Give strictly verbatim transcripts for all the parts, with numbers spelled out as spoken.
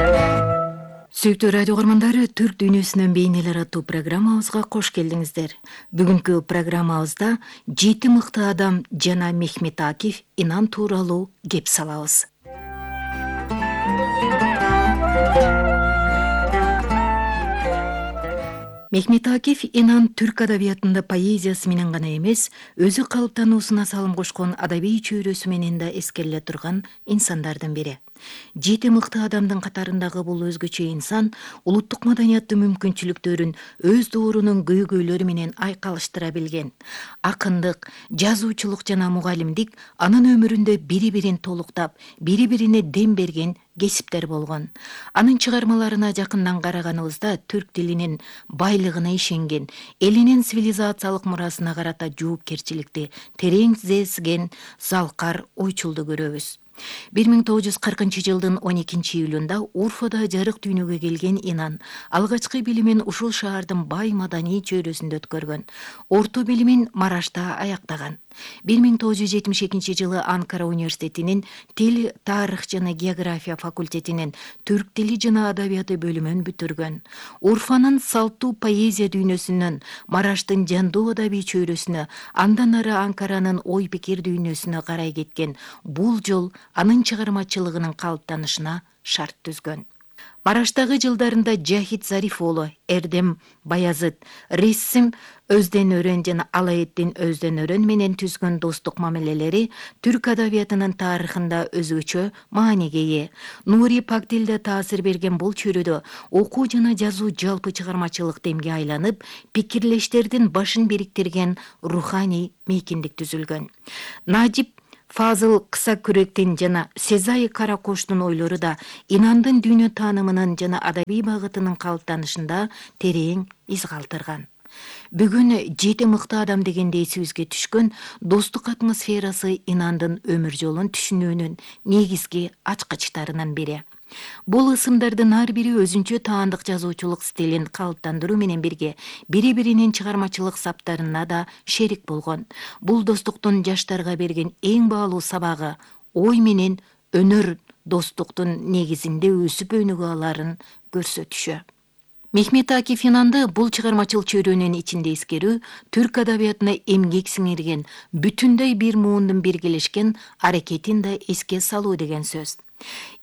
Сүйүктүү радио көргөндөрү, Түрк дүйнөсүнөн бейнелер аттуу программабызга кош келдиңиздер. Бүгүнкү программабызда жети мыкты адам жана Мехмет Акиф Инан тууралуу кеп салабыз. Мехмет Акиф Инан түрк адабиятында поэзиясы менен гана эмес, өзү калыптануусуна салым кошкон адабий чөйрөсү менен да эскериле турган инсандардын бири. Жети мыкты адамдын катарындагы бул өзгөчө инсан улуттук маданияттын мүмкүнчүлүктөрүн өз доорунун көйгөйлөрү менен айкалыштыра билген. Акындык, жазуучулук жана мугалимдик анын өмүрүндө бири-бирин толуктап, бири-бирине дем берген кесиптер болгон. Анын чыгармаларына жакындан караганыбызда түрк тилинин байлыгына ишенген, элинин цивилизациялык мурасына карата жоопкерчиликти терең сезген залкар ойчулду көрөбүз. бир миң тогуз жүз кыркынчы жылдын он экинчи июлунда Урфада жарык дүйнөгө келген Инан алгачкы билимин ушул шаардын бай маданий чөйрөсүндө өткөргөн. Орто билимин Марашта аяктаган. бир миң тогуз жүз жетимиш экинчи жылы Анкара университетинин Тил, тарых жана география факультетинин түрк тили жана адабияты бөлүмүн бүтүргөн. Урфанын салттуу поэзия дүйнөсүнөн Мараштын жандуу адабий чөйрөсүнө, андан ары Анкаранын ой пикир дүйнөсүнө карай кеткен бул жол анын чыгармачылыгынын калыптанышына шарт түзгөн. Мараштагы жылдарында Жахит Зариф уулу, Эрдем Баязыт, Рессим Өздөн-Өрөн жана Алаэддин Өздөн-Өрөн менен түзгөн достук мамилелери түрк адабиятынын тарыхында өзгөчө мааниге ээ. Нури Пактилде таасир берген бул чөйрөдө окуу жана жазуу жалпы чыгармачылык демге айланып, пикирлештердин башын бириктирген руханий мейкиндик түзүлгөн. Надип Фазыл Кыса күректин жана Сезай Каракоштун ойлору да Инандын дүйнө таанымынын жана адабий багытынын калыптанышында терең из калтырган. Бүгүн жети мыкты адам дегенде эсибизге түшкөн достук атмосферасы Инандын өмүр жолун түшүнүүнүн негизги ачкычтарынын бири. Бул ысымдардын ар бири өзүнчө таандык жазуучулук стилин калыптандыруу менен бирге бири-биринин чыгармачылык саптарына да шерик болгон. Бул достуктун жаштарга берген эң баалуу сабагы ой менен өнөр достуктун негизинде өсүп өнүгө аларын көрсөтүшү. Мехмет Акиф Инанды бул чыгармачыл чөйрөнүн ичинде эскерүү түрк адабиятына эмгек сиңирген, бүтүндөй бир муундун биргелешкен аракетин да эске салуу деген сөз.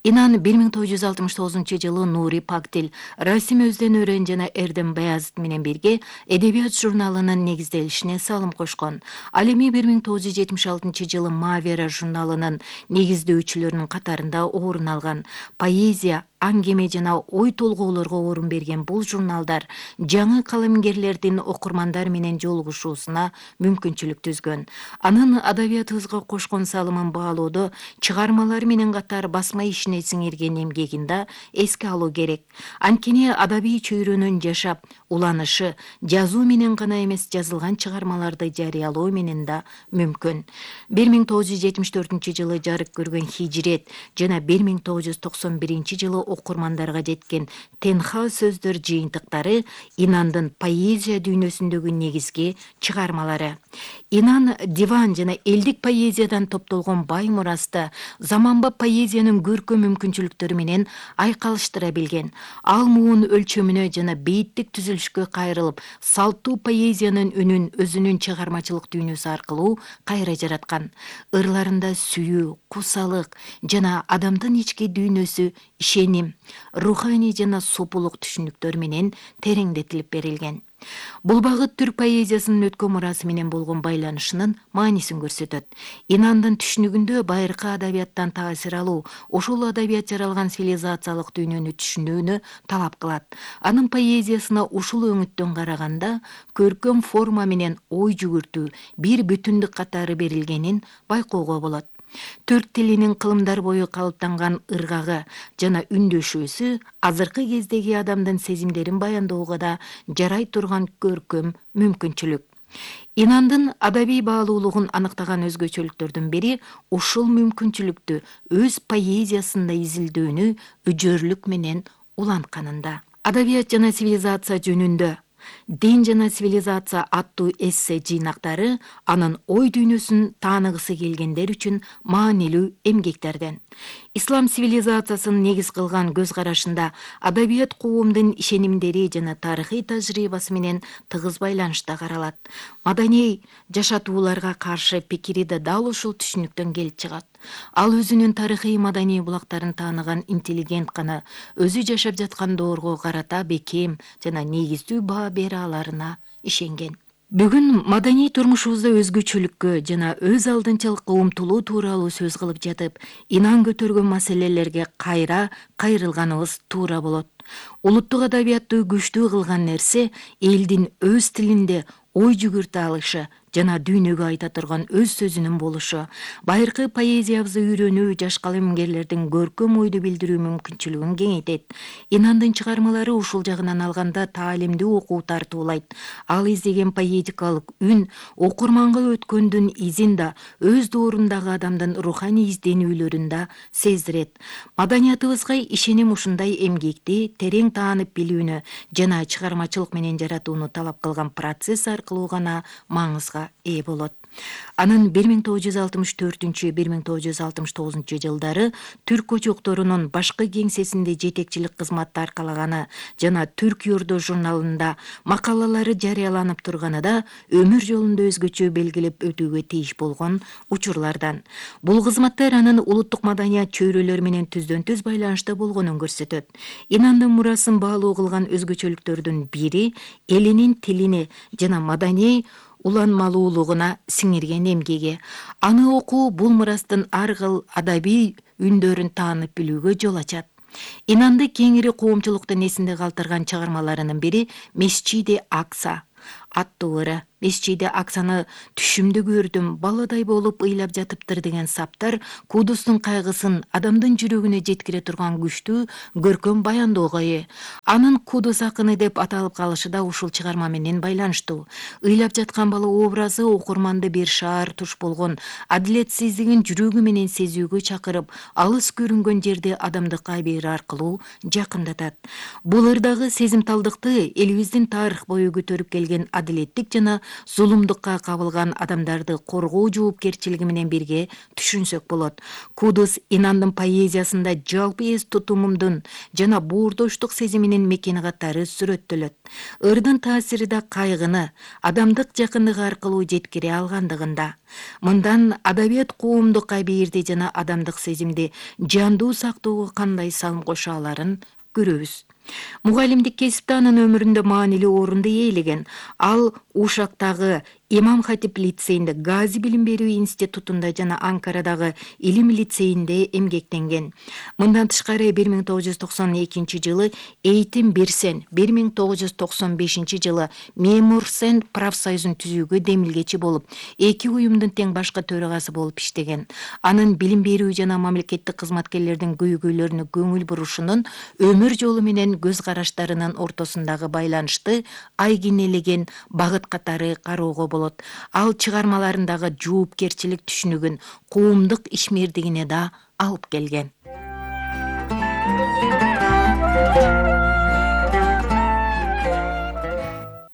Инан бир миң тогуз жүз алтымыш тогузунчу жылы Нури Пактил, Расим Өздөн-Өрөн жана Эрдем Баязыт менен бирге Эдебият журналынын негизделишине салым кошкон. Ал эми бир миң тогуз жүз жетимиш алтынчы жылы Мавера журналынын негиздөөчүлөрүнүн катарында орун алган. Поэзия, аңгеме жана ой толгоолорго орун берген бул журналдар жаңы калемгерлердин окурмандар менен жолугушуусуна мүмкүнчүлүк түзгөн. Анын адабиятыбызга кошкон салымын баалоодо чыгармалары менен катар басма ишине сиңирген эмгегин да эске алуу керек. Анткени адабий чөйрөнүн жашап, уланышы жазуу менен гана эмес, жазылган чыгармаларды жарыялоо менен да мүмкүн. бир миң тогуз жүз жетимиш төртүнчү жылы жарык көргөн Хижирет жана бир миң тогуз жүз токсон биринчи жылы окурмандарга жеткен Тенха сөздөр жыйынтыктары Инандын поэзия дүйнөсүндөгү негизги чыгармалары. Инан диван жана элдик поэзиядан топтолгон бай мурасты заманбап поэзиянын көркөм мүмкүнчүлүктөрү менен айкалыштыра билген. Ал муун өлчөмүнө жана бейиттик түзүлүшкө кайрылып, салттуу поэзиянын үнүн өзүнүн чыгармачылык дүйнөсү аркылуу кайра жараткан. Ырларында сүйүү, кусалык жана адамдын ички дүйнөсү, ишеним, руханий жана сопулук түшүнүктөр менен тереңдетилип берилген. Бул багыт түрк поэзиясынын өткөн мурасы менен болгон байланышынын маанисин көрсөтөт. Инандын түшүнүгүндө байыркы адабияттан таасир алуу, ошол адабият жаралган цивилизациялык дүйнөнү түшүнүүнү талап кылат. Анын поэзиясына ушул өңүттөн караганда көркөм форма менен ой жүгүртүү бир бүтүндүк катары берилгенин байкоого болот. Түрк тилинин кылымдар бою калыптанган ыргагы жана үндөшүүсү азыркы кездеги адамдын сезимдерин баяндоого да жарай турган көркөм мүмкүнчүлүк. Инандын адабий баалуулугун аныктаган өзгөчөлүктөрдүн бири ушул мүмкүнчүлүктү өз поэзиясында изилдөөнү өжөрлүк менен улантканында. Адабият жана цивилизация жөнүндө Дин жана цивилизация аттуу эссе жыйнактары анын ой дүйнөсүн тааныгысы келгендер үчүн маанилүү эмгектерден. Ислам цивилизациясын негиз кылган көз карашында адабият коомдун ишенимдери жана тарыхый тажрыйбасы менен тыгыз байланышта каралат. Маданий жашатууларга каршы пикири да дал ушул түшүнүктөн келип чыгат. Ал өзүнүн тарыхый маданий булактарын тааныган интеллигент гана өзү жашап жаткан доорго карата бекем жана негиздүү баа бере аларына ишенген. Бүгүн маданий турмушубузда өзгөчөлүккө жана өз алдынчалыкка умтулуу тууралуу сөз кылып жатып, инан көтөргөн маселелерге кайра кайрылганыбыз туура болот. Улуттук адабиятты күчтүү кылган нерсе элдин өз тилинде ой жүгүртө алышы жана дүйнөгө айта турган өз сөзүнүн болушу. Байыркы поэзиябызды үйрөнүү жаш калемгерлердин көркөм ойду билдирүү мүмкүнчүлүгүн кеңейтет. Инандын чыгармалары ушул жагынан алганда таалимдүү окуу тартуулайт. Ал издеген поэтикалык үн окурманга өткөндүн изин да өз доорундагы адамдын руханий изденүүлөрүн да сездирет. Маданиятыбызга ишеним ушундай эмгекти терең таанып билүүнү жана чыгармачылык менен жаратууну талап кылган процесс аркылуу гана маңызга ээ болот. Анын бир миң тогуз жүз алтымыш төртүнчү — бир миң тогуз жүз алтымыш тогузунчу жылдары түрк очокторунун башкы кеңсесинде жетекчилик кызматты аркалаганы жана Түрк Юрду журналында макалалары жарыяланып турганы да өмүр жолунда өзгөчө белгилеп өтүүгө тийиш болгон учурлардан. Бул кызматтар анын улуттук маданият чөйрөлөрү менен түздөн түз байланышта болгонун көрсөтөт. Инандын мурасын баалуу кылган өзгөчөлүктөрдүн бири элинин тилине жана маданий уланмалуулугуна сиңирген эмгеги. Аны окуу бул мурастын ар кыл адабий үндөрүн таанып билүүгө жол ачат. Инанды кеңири коомчулуктун эсинде калтырган чыгармаларынын бири Месчиди Акса аттуу ыры. Месчиди Аксаны түшүмдө көрдүм, баладай болуп ыйлап жатыптыр деген саптар Кудустун кайгысын адамдын жүрөгүнө жеткире турган күчтүү көркөм баянdoого ээ. Анын Кудус акыны деп аталып калышы да ушул чыгарма менен байланыштуу. Ыйлап жаткан бала образы окурманды бир шаар туш болгон адилетсиздигин жүрөгү менен сезүүгө чакырып, алыс көрүнгөн жерде адамдык абийир аркылуу жакындатат. Бул ырдагы сезимталдыкты элибиздин тарых бою көтөрүп келген адилеттик жана зулумдукка кабылган адамдарды коргоо жоопкерчилиги менен бирге түшүнсөк болот. Кудус Инандын поэзиясында жалпы эс тутумумдун жана боордоштук сезиминин мекени катары сүрөттөлөт. Ырдын таасири да кайгыны адамдык жакындык аркылуу жеткире алгандыгында. Мындан адабият коомдук абийирди жана адамдык сезимди жандуу сактоого кандай салым кошо аларын көрөбүз. Мугалимдик кесипте анын өмүрүндө маанилүү орунду ээлеген. Ал Ушактагы Имам Хатип лицейинде, Гази билим берүү институтунда жана Анкарадагы Илим лицейинде эмгектенген. Мындан тышкары бир миң тогуз жүз токсон экинчи жылы Эйтим Бирсен, бир миң тогуз жүз токсон бешинчи жылы Мемурсен профсоюзун түзүүгө демилгечи болуп, эки уюмдун тең башкы төрагасы болуп иштеген. Анын билим берүү жана мамлекеттик кызматкерлердин көйгөйлөрүнө көңүл бурушунун өмүр жолу менен көз караштарынын ортосундагы байланышты айгинелеген багыт катары кароого болот. Ал чыгармаларындагы жоопкерчилик түшүнүгүн коомдук ишмердигине да алып келген.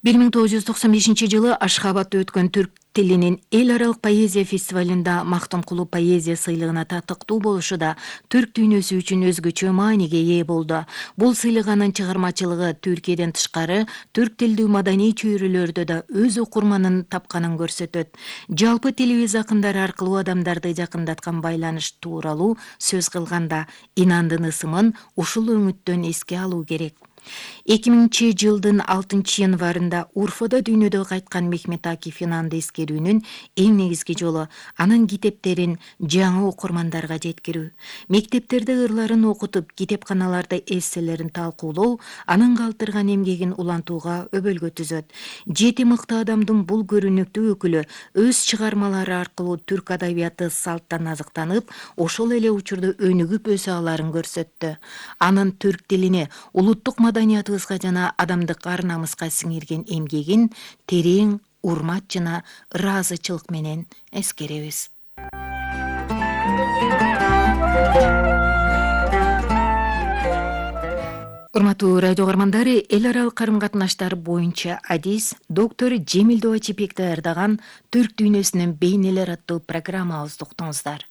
бир миң тогуз жүз токсон бешинчи жылы Ашхабадта өткөн түрк тилинин эл аралык поэзия фестивалында Мактумкулу поэзия сыйлыгына татыктуу болушу да түрк дүйнөсү үчүн өзгөчө мааниге ээ болду. Бул сыйлык анын чыгармачылыгы Түркияден тышкары түрк тилдүү маданий чөйрөлөрдө да өз окурманын тапканын көрсөтөт. Жалпы тилибиз акындары аркылуу адамдарды жакындаткан байланыш тууралуу сөз кылганда Инандын ысымын ушул өңүттөн эске алуу керек. эки миңинчи жылдын алтынчы январында Урфада дүйнөдө кайткан Мехмет Акиф Инанды эскерүүнүн эң негизги жолу анын китептерин жаңы окурмандарга жеткирүү. Мектептерде ырларын окутуп, китепканаларда эсселерин талкуулоо анын калтырган эмгегин улантууга өбөлгө түзөт. Жети мыкты адамдын бул көрүнүктүү өкүлү өз чыгармалары аркылуу түрк адабияты салттан азыктанып, ошол эле учурда өнүгүп өсө аларын көрсөттү. Анын түрк тилине, улуттук маданиятыбызга жана адамдык ар-намыска сиңирген эмгегин терең урмат жана ыраазычылык менен эскеребиз. Урматтуу радио угармандары, эл аралык карым-катнаштар боюнча адис доктор Жемил Дубачипек даярдаган Түрк дүйнөсүнүн бейнелер аттуу программабызды уктуңуздар.